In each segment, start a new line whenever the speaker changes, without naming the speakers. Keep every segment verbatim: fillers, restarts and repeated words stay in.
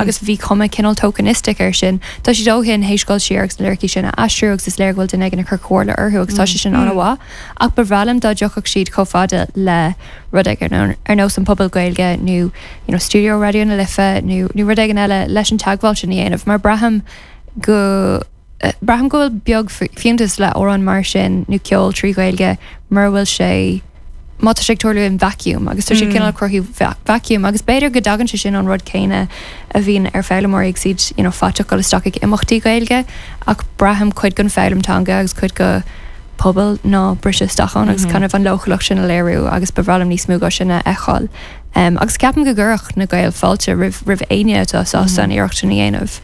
Agus bhí cuma cineál tokenistic air sin. Tá siad ó shin théis dul siar agus na liricí sin a aistriú agus is léir go bhfuil duine éigin ag cur comhairle orthu agus tá sé sin an-mhaith. Ach ba bhreá liom dá dtiocfadh siad chomh fada le rud éigin ar ar nós an Puball Gaeilge nó you know, Studio Raidió na Life nó nó rud éigin eile leis an teagmháil sin a dhéanamh, mar braithim go eh, braithim go bhfuil beag fi- fiúntas le amhrán mar sin nó ceol trí Ghaeilge mar bhfuil sé má tá sé ag tarlú in vacuum agus tá siad cineál cruthú vacuum agus b'fhéidir go dtagann sé sin an rud céanna a bhíonn ar foghlaimeoirí ag siad you know, faiteach dul isteach ag imeachtaí Gaeilge ach braithim cuid den foghlaim teanga agus cuid de pobal ná briseadh isteach ann agus kind of an leochaileacht sin a léiriú agus ba bhreá liom níos mó de sin a fheiceáil. Um, agus ceapaim go gcuirfeadh na Gaeil fáilte roimh roimh éinne atá sásta an iarracht sin a dhéanamh.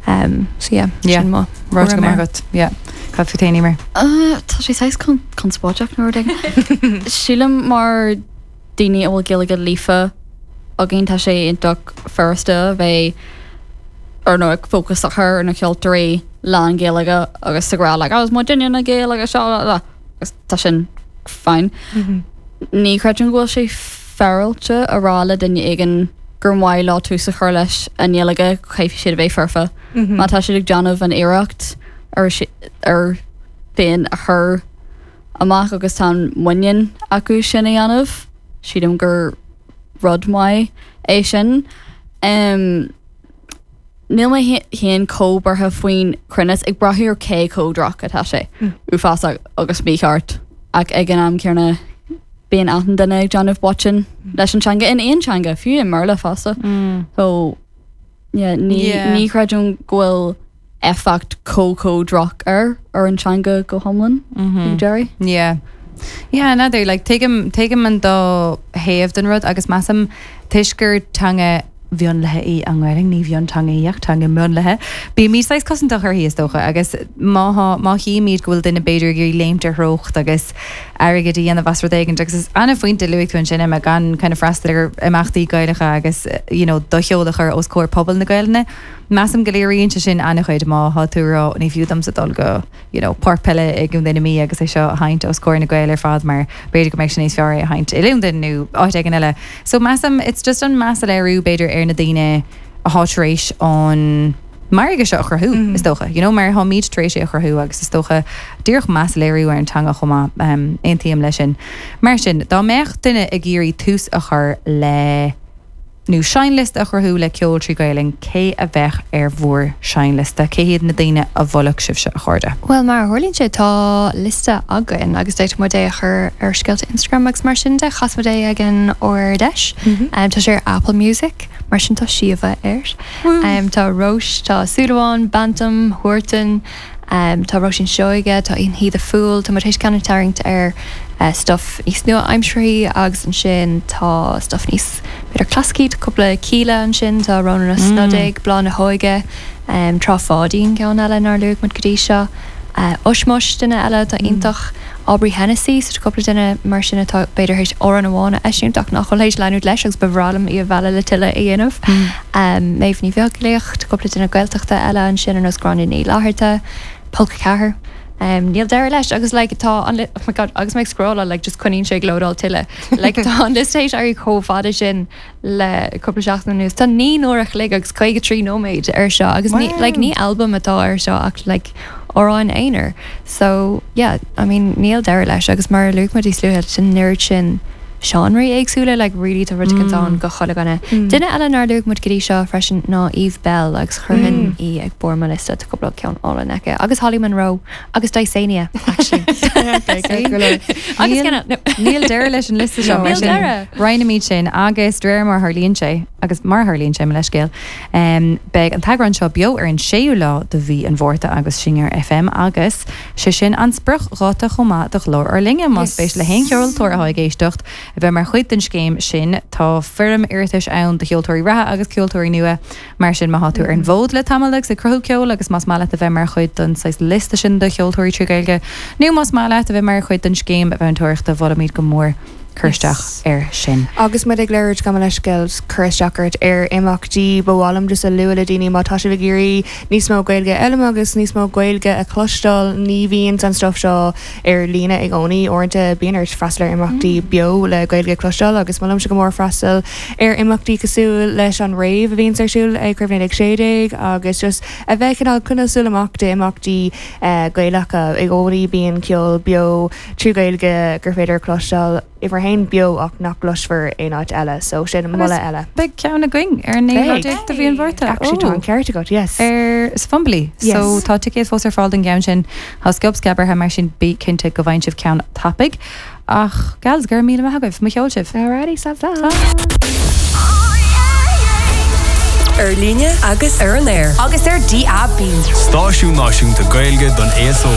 Um, so yeah,
Yeah.
sin mo
Rud go
thuairim air.
agat. Yeah. Cad fút féin mar.
Uh, Tá sé saghas con conspóideach nó rud éigin. Sílim mar daoine a bhfuil Gaeilge líofa againn tá sé iontach furasta bheith ar nó ag fócas a chur ar na ceoltóirí lán Gaeilge agus sa rá like, agus má duine na Gaeilge seo la agus tá sin fine. Ní chreidim go bhfuil sé féaráilte a rá le duine éigin gur mhaith leo tús a chur leis an nGaeilge caithfidh siad a bheith foirfe. Má tá siad ag déanamh an iarracht ar si- ar féin a chur amach agus tá muinín acu sin a dhéanamh, sílim gur rud maith é sin. Um, Níl mé féin chomh buartha faoin cruinneas ag brath ar cé chomh droch atá sé uafásach agus mícheart ach ag an am céanna bíonn achan duine ag déanamh botún leis an teanga in aon teanga fiú i mBéarla fosta. So yeah, ní
Yeah.
ní chreidim go bhfuil éifeacht chomh chomh droch ar ar an teanga go hiomlán Jerry.
Yeah. Yeah, another like tuigim tuigim an dá thaobh den rud agus measaim toisc gur teanga mhionlaithe í an Ghaeilge ní mhionteanga í ach teanga mhionlaithe. Bímid saghas cosantach uirthi is dócha agus má má chímid go bhfuil duine b'fhéidir ag iarraidh léimt ar threocht agus airgead a dhéanamh as rud éigin agus is an-phointe luaigh tú ansin Emma gan kind of freastal ar imeachtaí Gaelacha agus you know, do cheol a chur os comhair pobal na Gaeilge. Measaim go léiríonn sé sin an-chuid má tá tú rá ní fiú domsa dul go you know, páirc peile i gContae na Mí agus é seo a sheinnt os comhair na Gaeil ar fad mar b'fhéidir go mbeidh sin níos fearr é a sheinnt i Londain nó áit éigin eile. So measaim it's just an meas a léiriú b'fhéidir ar na daoine atá tar éis an margadh seo a chruthú is dócha. You know, mar táimid tar éis é a chruthú agus is dócha díreach meas a léiriú ar an teanga chomh maith um, aontaím leis sin. Mar sin, dá mbeadh duine ag iarraidh tús a chur le nó seinnliosta a chruthú le ceol trí Ghaeilge cé a bheadh ar bhur seinnliosta cé hiad na daoine a mholfadh sibhse a chairde.
Well mar a tharlaíonn sé tá liosta againn agus d'fhéadfadh muid é a chur ar scéalta Instagram agus mar sin de chas muid é ag an Ard-Fheis. Um, tá sé ar Apple Music mar sin tá Síomha air. Um, tá Róis, tá Súdaháin, Bantam, Huartan, um, tá Róisín Seoige, tá In He the Fool, tá tar éis ceann tarraingt ar uh, stuff níos nua-aimseartha agus ansin tá stuff níos b'fhéidir clasaicí cúpla Kíla ansin tá Rónán Ó Snodaigh, Bláth na hÓige, um, Trá Pháidín ceann eile nár luaigh muid go dtí seo. Uh, Ushmush duine eile tá iontach Aubrey Hennessy so cúpla duine mar sin atá b'fhéidir théis amhrán amháin a eisiúint ach nach bhfuil théis leanúint leis agus ba bhreá liom í a mhealladh le tuilleadh a dhéanamh. Um, Méabh Ní Bheaglaoich, cúpla duine Gaeltachta eile ansin ar nós Gráinne Ní Fhlatharta, Polca Ceathair. Um, níl deireadh leis agus like, tá an li- oh my God, agus mé ag scrolláil like, just coinníonn sé ag lódáil tuilleadh. Like, tá an liosta théis éirí chomh fada sin le cúpla seachtain anuas. Tá naoi n-uair a chloig agus caoga trí nóiméad ar seo agus ní, like, ní albam atá ar seo ach like, amhráin aonair. So yeah, I mean níl deireadh leis agus mar a luaigh muid níos luaithe sin oiread sin seánraí éagsúla like really tá rud éigin ann do chuile dhuine. Duine eile nár luaigh muid go dtí seo freisin ná Eve Belle agus chuirfinn í ag barr mo liosta tá cúpla ceann álainn aici agus Holly Monroe agus Dysania actually. Agus ceann- no.
Níl deireadh leis an liosta seo mar
Níl
sin
deireadh.
Roinnimid sin agus de réir mar a tharlaíonn sé agus mar a tharlaíonn sé mo leithscéal. Um, beidh an t-eagrán seo beo ar an séú lá de mhí an Mhárta agus Singer FM agus sé sin an spriocdháta chomh maith do chlár Ár Linne más spéis le haon cheoltóir atá ag éisteacht a bheith mar chuid den scéim sin tá foirm iarratais ann do cheoltóirí reatha agus ceoltóirí nua mar sin má tá tú ar an bhfód le tamall agus ag cruthú ceol agus más maith leat a bheith mar chuid den saghas liosta sin do cheoltóirí trí Ghaeilge nó más maith leat a bheith mar chuid den scéim mheantóireachta mholfaimid go mór Cur isteach ar sin.
Agus muid ag labhairt gabh mo leithscéal cur isteach ort ar imeachtaí ba mhaith liom just a lua le daoine má tá sibh ag iarraidh níos mó Gaeilge eile agus níos mó Gaeilge a chloisteáil ní bhíonn an stuff seo ar líne i gcónaí uaireanta bíonn ort freastal ar imeachtaí mm. beo le Gaeilge cloisteáil agus molaimse go mór freastal ar imeachtaí cosúil leis an rave a bhíonn ar siúl ag Craobh naoi déag sé déag agus just a bheith cineál coinneáil súil amach d'imeachtaí eh, Gaelacha i gcónaí bíonn ceol beo trí Gaeilge gur féidir cloisteáil uimhir a haon beo ach nach gcloisfear aon áit eile, so sin moladh eile.
Beidh ceann againn ar an naoú lá déag de mhí an Mhárta.
Actually tá an ceart agat, yes.
Ar sa Fumbally. So tá ticéid fós ar fáil don gceann sin. Tá sciob scabartha mar sin bí cinnte go bhfaigheann sibh ceann tapaidh. Ach gals go raibh míle maith agaibh, mo cheol sibh.
Alrighty, slán slán.
Ar líne agus ar an aer.
Agus ar DAB.
Stáisiún Náisiúnta Gaeilge don aos óg.